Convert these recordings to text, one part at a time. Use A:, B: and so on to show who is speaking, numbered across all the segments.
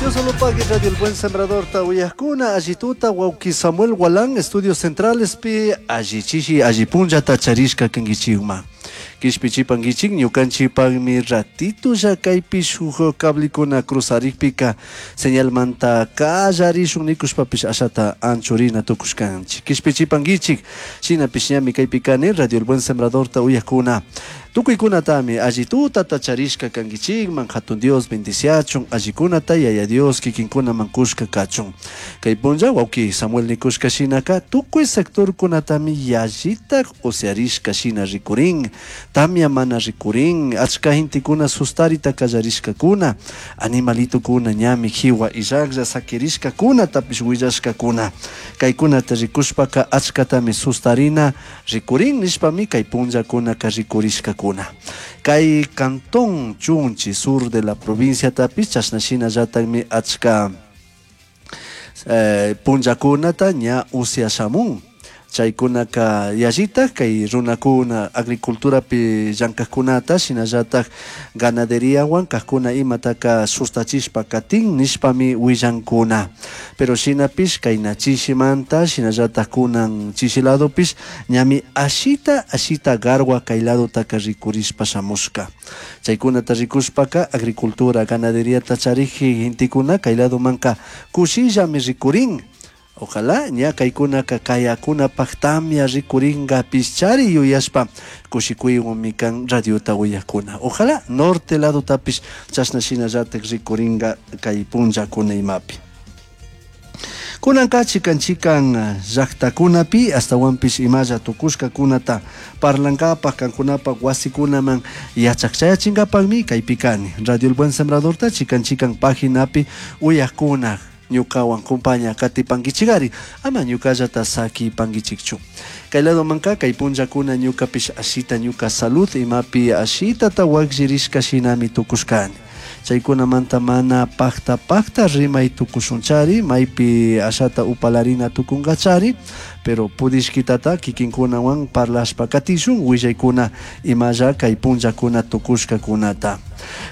A: Diosolopagui Radio El Buen Sembrador ta uyajkuna allituta wawki Samuel Gualán Estudios Centralespi allichishi alli punllata charishka kankichikman. Kishpichipankichik ñukanchikpakmi ratitulla kaypi shuk cablikuna cruzarikpika señalmanta kallarishun nikushpapish ashata anchurina tukushkanchik. Kishpichipankichik shinapish ñami kaypi kani Radio El Buen Sembradorta uyajkuna. Tukuykunatami alli tutata charishka kankichikman hatun Dios bendiciachun allikunata yaya Dios kikinkunaman kushka kachun. Kay punlla wawki Samuel nikushka shinaka tukuy sectorkunatami yallitak usyarishka shina rikurin, tamya mana rikurin, achka gentekuna sustarita kallarishkakuna, animalitukuna ñami jiwa illaklla sakirishkakunatapish willashkakuna. Kaykunata rikushpaka achkatami sustarina rikurin nishpami kay punllakunaka rikurishkakuna. Kay cantón Chunchi, sur de la provincia tapish chashna shinallatakmi achka punllakunata ña usyashamun. Chaykunaka yallitak kay runakuna agriculturapi llankajkunata shinallatak ganaderiawan kajkuna imataka sustachishpa katin nishpami willankuna. Pero shinapish kayna chishimanta shinallatak kunan chishi ladopish ñami ashita ashita garwa kay ladotaka rikurishpa shamushka. Chaykunata rikushpaka agricultura ganaderiata chariji gentekuna kay ladomanka kushillami rikurin. Ojalá ña kaykunaka kayakunapak tamya rikuringa pischari yuyashpa kushikuywanmi kan radiota uyakuna. Ojalá norte ladotapish chashna shinallatak rikuringa kay punllakuna imapi. Kunanka chikan chikan llaktakunapi astawanpish imalla tukushkakunata parlankapak kankunapak wasikunaman yachakchayachinkapakmi kaypi kani. Radio El Buen Sembradorta chikan chikan paginapi uyakuna ñukawan kumpaña katipankichikari ama ñukallata sakipankichikchu. Kay ladomanka kay punllakuna ñukapish ashita ñuka salud imapi ashitata wakllirishka shinami tukushkani. Chaykunamanta mana pakta pakta rimay tukushunchari maypi ashata upalarina tukunkachari, pero pudishkitata kikinkunawan parlashpa katishun willaykuna imalla kay punllakuna tukushkakunata.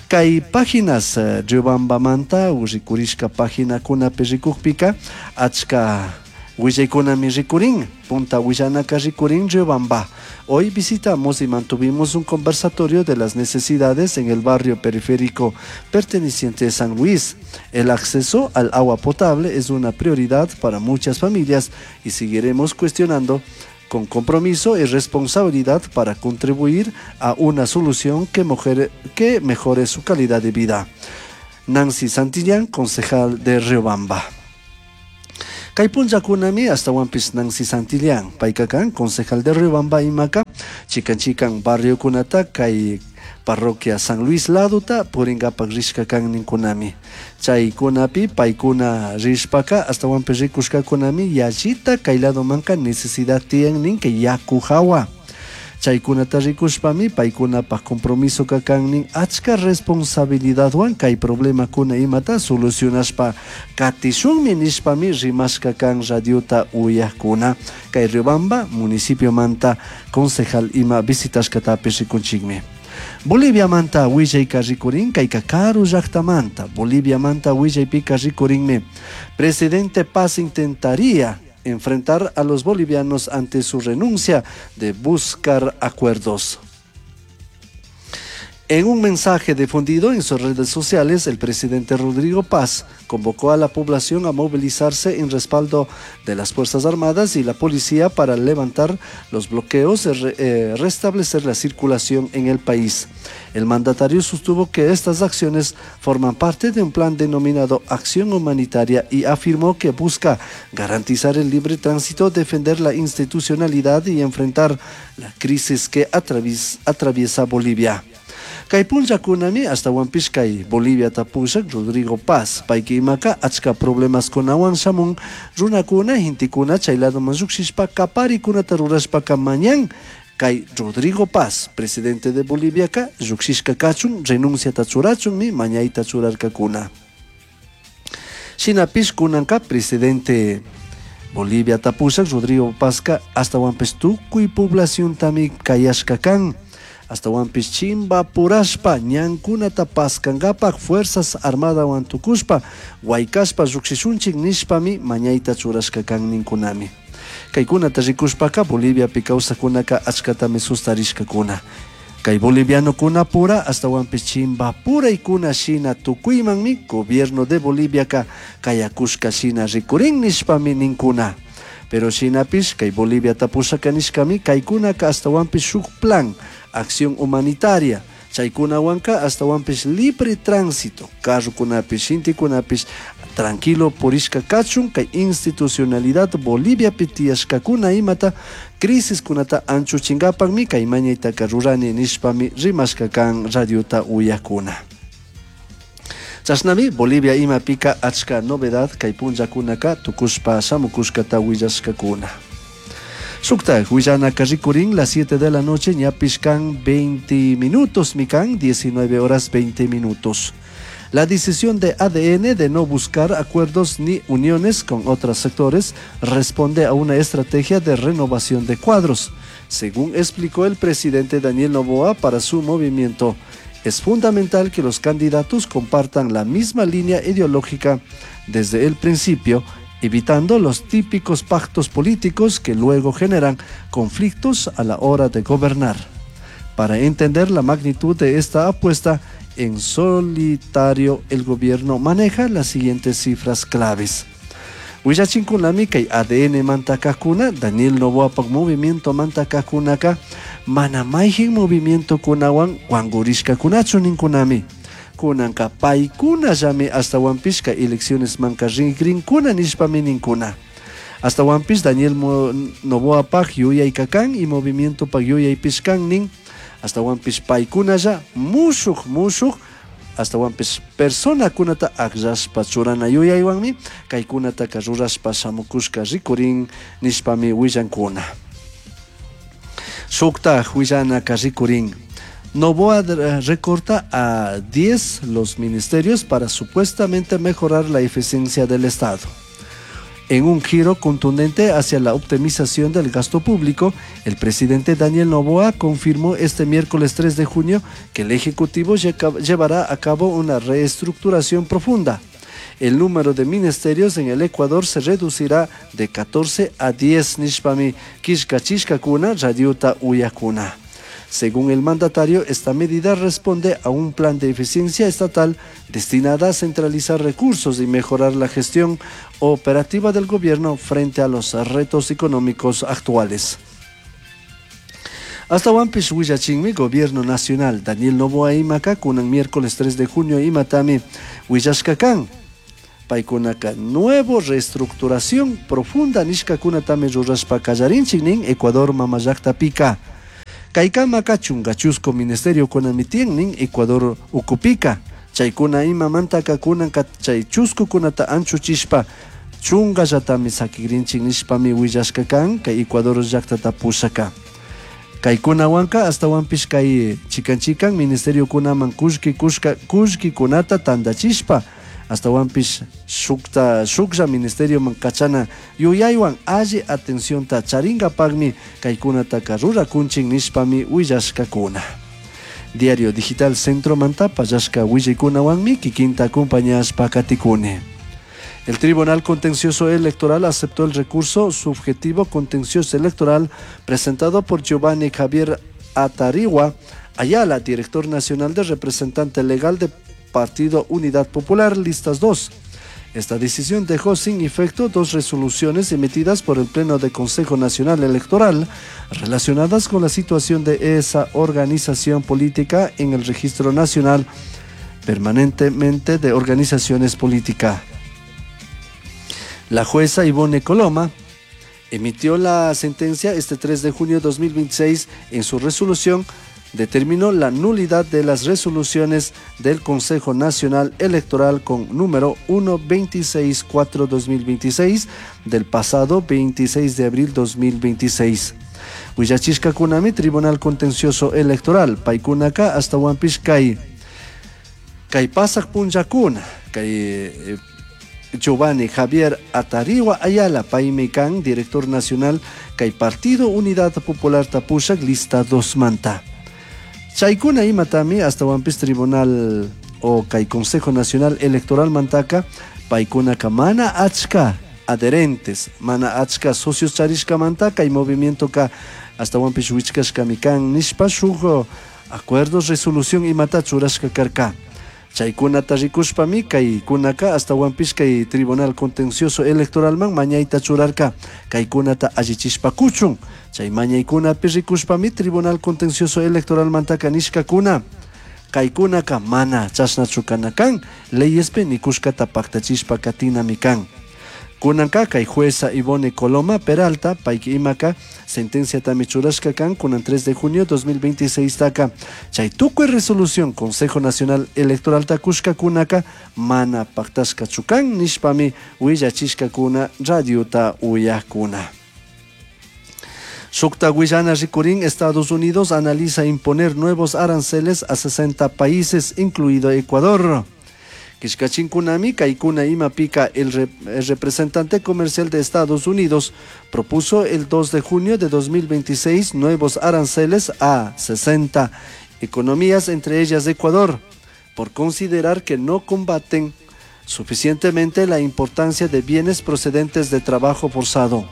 A: Kay páginas Riobambamanta rikurishka paginakunapi rikukpika achka willaykunami rikurin, punta willanaka rikurin Riobamba. Hoy visitamos y mantuvimos un conversatorio de las necesidades en el barrio periférico perteneciente a San Luis. El acceso al agua potable es una prioridad para muchas familias y seguiremos cuestionando con compromiso y responsabilidad para contribuir a una solución que mejore su calidad de vida. Nancy Santillán, concejal de Riobamba. Kay punllakunami astawanpish Nancy Santillán, payka kan concejal de Riobamba imaka, chikan chikan barriokunata kay parroquia San Luis ladota purinkapak rishka kan ninkunami. Chaykunapi paykuna rishpaka astawanpish rikushkakunami yallita kay ladomanka necesidad tiyan nin kay yaku hawa. Chaykunata rikushpami paykunapak compromiso kan nin achka responsabilidadwan kay problemakuna imata solucionashpa katishunmi nishpami rimashka kan radiota uyakuna. Kay Riobamba municipiomanta concejal ima visitashkatapish rikunchikmi. Boliviamanta willayka rikurin kayka karu llaktamanta. Boliviamanta willaypika rikurinmi. Presidente Paz intentaría enfrentar a los bolivianos ante su renuncia de buscar acuerdos. En un mensaje difundido en sus redes sociales, el presidente Rodrigo Paz convocó a la población a movilizarse en respaldo de las Fuerzas Armadas y la policía para levantar los bloqueos y restablecer la circulación en el país. El mandatario sostuvo que estas acciones forman parte de un plan denominado Acción Humanitaria y afirmó que busca garantizar el libre tránsito, defender la institucionalidad y enfrentar la crisis que atraviesa Bolivia. Kay punllakunami astawanpish kay Bolivia tapushak Rodrigo Paz payka imaka achka problemaskunawan shamun runakuna gentekuna chay ladoman llukshishpa kaparikunata rurashpaka mañan kay Rodrigo Paz presidente de Boliviaka llukshishka kachun renunciata churachunmi mañayta churarkakuna. Shinapish kunanka presidente Bolivia tapushak Rodrigo Pazka astawanpish tukuy poblaciontami kayashka kan. Ashtahuanpish chimbapurashpa ñankunata paskankapak Fuerzas Armadawan tukushpa huaicashpa llujshishunchik nishpami mañaita churashka kan ninkunami. Kaykunata rikushpaka Boliviapi kawsakkunaka achkatami sustarishkakuna. Kay bolivianokunapura ashtahuanpish chimbapuraykuna shina tukuymanmi gobierno de Boliviaka kayakushka shina rikurin nishpami ninkuna. Pero shinapish kay Boliviata pushaka nishkami kaykunaka ashtahuanpish shuk plan, acción humanitaria, chaykunawanka ashtahuanpish libre tránsito, carrokunapish, gentekunapish tranquilo purishka kachun kay institucionalidad Boliviapi tiyashkakuna imata crisiskunata anchuchinkapakmi kay mañaytaka rurani nishpami rimashka kan radiota uyakuna. Chashnami Bolivia imapika achka novedad kay punllakunaka tukushpa shamukushkata willashkakuna. Shuktak willanaka rikurin las 7 de la noche ñapish kan 20 minutos mikan 19 horas 20 minutos. La decisión de ADN de no buscar acuerdos ni uniones con otros sectores responde a una estrategia de renovación de cuadros, según explicó el presidente Daniel Noboa para su movimiento. Es fundamental que los candidatos compartan la misma línea ideológica desde el principio, evitando los típicos pactos políticos que luego generan conflictos a la hora de gobernar. Para entender la magnitud de esta apuesta, en solitario el gobierno maneja las siguientes cifras claves. Willachinkunami kay ADN mantakakuna, Daniel Noboapak movimiento mantakakunaka, mana mayjin movimiento kunawan wankurishkakunachu ninkunami. Kunanka paykunallami ashtawanpish kay elecciones manka rinkrinkuna nishpami ninkuna. Ashtawanpish Daniel Noboapak yuyayka kan y movimientopak yuyaypish kan nin. Ashtawanpish paykunalla mushuk mushuk ashtawanpish personakunata akllashpa churana yuyaywanmi kaykunataka rurashpa shamukushka rikurin nishpami willankuna. Shuktaj willanaka rikurin. Noboa recorta a 10 los ministerios para supuestamente mejorar la eficiencia del Estado. En un giro contundente hacia la optimización del gasto público, el presidente Daniel Noboa confirmó este miércoles 3 de junio que el Ejecutivo llevará a cabo una reestructuración profunda. El número de ministerios en el Ecuador se reducirá de 14 a 10 nishpami killkachishkakuna radiota uyakuna. Según el mandatario, esta medida responde a un plan de eficiencia estatal destinada a centralizar recursos y mejorar la gestión operativa del gobierno frente a los retos económicos actuales. Ashtawanpish willachinmi Gobierno Nacional Daniel Noboa imaka kunan miércoles 3 de junio imatami willashka kan. Paykunaka nuevo reestructuración profunda nishkakunatami rurashpa kallarinchik nin Ecuador mamallakta-pika. Kaykamaka chunka chusku ministerio kunami tiyan nin Ecuador ukupika. Chaykuna imamantaka kunanka chay chuskukunata anchuchishpa chunkallatami sakigrinchik nishpami willashka kan kay Ecuador llaktata pushaka. Kaykunawanka ashtawanpish kay chikan chikan ministeriokunaman kullki kushka kullkikunata tandachishpa ashtawanpish shukta shuklla ministerioman kachana yuyaywan alli atencionta charinkapakmi kaykunataka rurakunchik nishpami willashkakuna. Diario Digital Centromanta pallashka willaykunawanmi kikinta acompañashpa katikuni. El Tribunal Contencioso Electoral aceptó el recurso subjetivo contencioso electoral presentado por Giovanni Javier Atarigua Ayala, director nacional de representante legal de Partido Unidad Popular, Listas 2. Esta decisión dejó sin efecto dos resoluciones emitidas por el Pleno del Consejo Nacional Electoral relacionadas con la situación de esa organización política en el Registro Nacional Permanentemente de Organizaciones Políticas. La jueza Ivone Coloma emitió la sentencia este 3 de junio de 2026 en su resolución determinó la nulidad de las resoluciones del Consejo Nacional Electoral con número 1264-2026 del pasado 26 de abril 2026. Willachishkakunami Tribunal Contencioso Electoral, paykunaka ashtawanpish kay kay pasak punllakuna, kay Giovanni Javier Atarigua Ayala, paymi kan, director nacional, kay Partido Unidad Popular Tapushak, lista 2 manta. Chaykuna imatami astawanpis tribunal o kay Consejo Nacional Electoral mantaka paykunaka mana achka adherentes, mana achka socios charishkamanta kay movimientoka astawanpis wichkashkami kan nishpa shuk acuerdo resolución imata churashka karka. Chaykunata rikushpami kaykunaka astawanpis kay Tribunal Contencioso Electoralman mañayta churarka kaykunata allichishpa kuchun. Chay mañaykunapi rikushpami Tribunal Contencioso Electoralmantaka nishkakuna kaykunaka mana chashnachu kana kan leyespi nikushkata paktachishpa katinami kan. Kunanka kay jueza Ivone Coloma Peralta payki imaka sentenciatami churashka kan kunan 3 de junio 2026 taka chay tukuy resolución Consejo Nacional Electoral kushkakunaka mana paktashkachu kan nishpami willachishkakuna radiota uyakuna. Shukta willana rikurin, Estados Unidos analiza imponer nuevos aranceles a 60 países, incluido Ecuador. Kishkachinkunami, kaykuna imapika, el representante comercial de Estados Unidos propuso el 2 de junio de 2026 nuevos aranceles a 60 economías, entre ellas Ecuador, por considerar que no combaten suficientemente la importancia de bienes procedentes de trabajo forzado.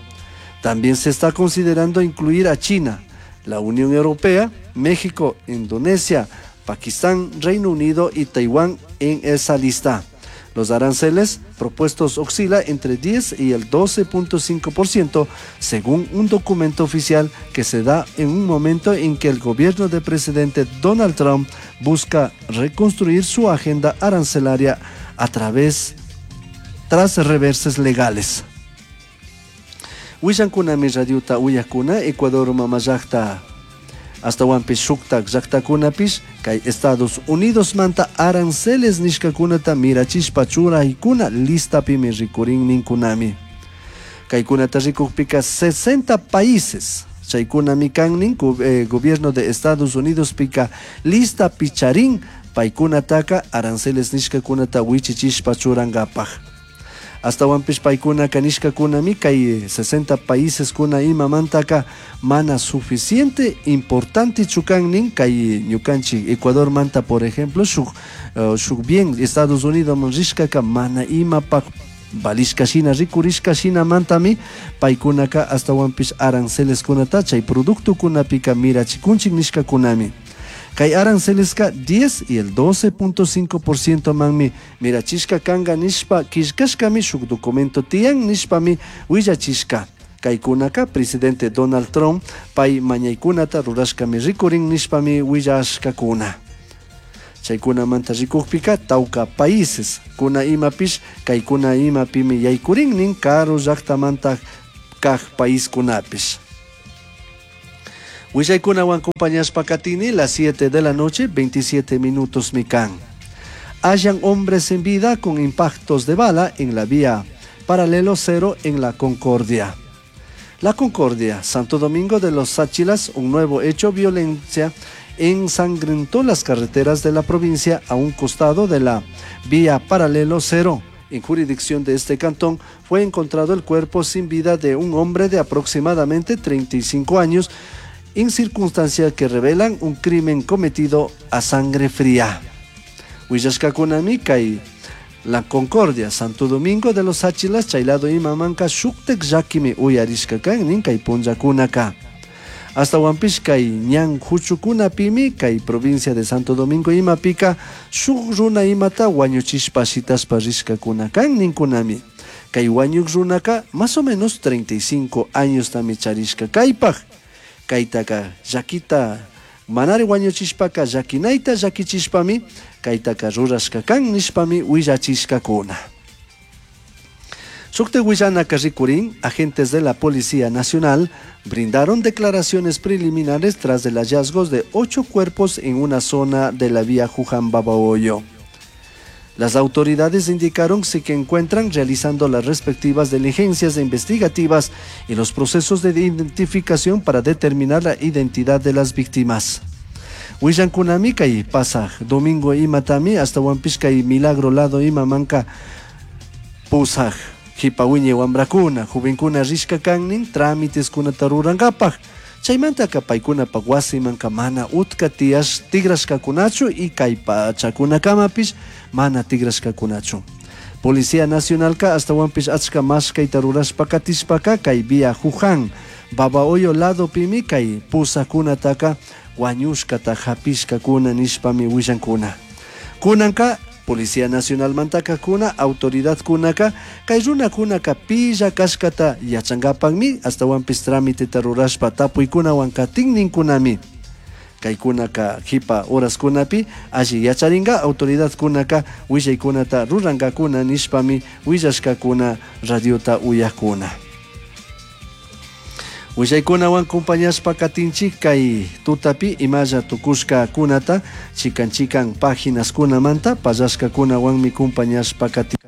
A: También se está considerando incluir a China, la Unión Europea, México, Indonesia, Pakistán, Reino Unido y Taiwán en esa lista. Los aranceles propuestos oscila entre 10 y el 12.5% según un documento oficial que se da en un momento en que el gobierno del presidente Donald Trump busca reconstruir su agenda arancelaria a través tras reverses legales. Willankunami radiota uyakuna Ecuador mamallakta astawanpish shuktak llaktakunapish kay Estados Unidos manta aranceles nishkakunata mirachishpa churaykuna listapimi rikurin ninkunami. Kaykunata rikukpika 60 países chaykunami kan nin gobierno de Estados Unidos pika listapi charin paykunataka aranceles nishkakunata wichichishpa churankapak. Astawanpish paykunaka nishkakunami kay 60 países kuna imamantaka mana suficiente importante kan nin kay ñukanchik Ecuador manta por ejemplo shuk bien Estados Unidos man rishkaka mana imapak valishka shina rikurishka shinamantami paykunaka astawanpish aranceles kunata chay productokunapika mirachikunchik nishkakunami. Kay aranceleska 10 y el 12.5% manmi mirachishka kanga nishpa killkashkami shuk documento tiyan nishpami willachishka. Kaykunaka presidente Donald Trump pay mañaykunata rurashkami rikurin nishpami willashkakuna. Chaykunamanta rikukpika tawka países kuna imapish kaykuna imapimi yaykurin nin karu llaktamanta kaj paiskunapish. Willaykunawan acompañashpa katini las 7 de la noche, 27 minutos mikan. Hallan hombres en vida con impactos de bala en la vía paralelo cero en La Concordia. La Concordia, Santo Domingo de los Tsáchilas, un nuevo hecho violencia ensangrentó las carreteras de la provincia a un costado de la vía paralelo cero. En jurisdicción de este cantón fue encontrado el cuerpo sin vida de un hombre de aproximadamente 35 años, en circunstancias que revelan un crimen cometido a sangre fría. Willashkakunami kay La Concordia, Santo Domingo de los Tsáchilas, chaylado imamanka shuktek llakimi uyarishka kan nin kay punllakunaka. Astawanpish kay ñan huchukunapimi kay provincia de Santo Domingo imapika shuk runa imata wañuchishpa shitashpa rishkakuna kan ninkunami. Kay wañuk runaka más o menos 35 años tami charishka kaypaj. Kaytaka llakita manari wañuchishpaka llakinayta llakichishpami kaytaka rurashka kan nishpami willachishkakuna. Shukta willanaka rikurin, agentes de la Policía Nacional brindaron declaraciones preliminares tras el hallazgo de 8 cuerpos en una zona de la vía Juján-Babahoyo. Las autoridades indicaron que se encuentran realizando las respectivas diligencias investigativas y los procesos de identificación para determinar la identidad de las víctimas. Willankunami kay pasaj domingo imatami astawanpish kay milagro lado imamanka pusaj jipa wiñay wambrakuna, jovenkuna rishka kannin trámites kunata rurankapaj. Chaimantaca paicunapac huasimanca mana utca tiyash tigrashcacunachu y cai pachacunacamapish mana tigrashcacunachu. Policía Nacionalca ashtahuanpish achca mashcaita rurashpa catishpaca cai vía Juján, Babahoyo ladopimi cai pusacunataca huañushcata japishcacuna nishpami huillancuna. Cunanca Policía Nacionalmantaca cuna autoridadcunaca cai runacunaca pilla cashcata yachangapacmi ashtahuanpish tramiteta rurashpa tapuicunahuan catinnincunami. Caicunaca jipa horascunapi alli yacharinga autoridadcunaca huillaicunata rurangacuna nishpami huillashcacuna radiota uyajcuna. Huillaicunahuan compañashpa katinchik kay tutapi imalla tukushkakunata chikan chikan paginaskunamanta pallashkakunawanmi compañashpa katin.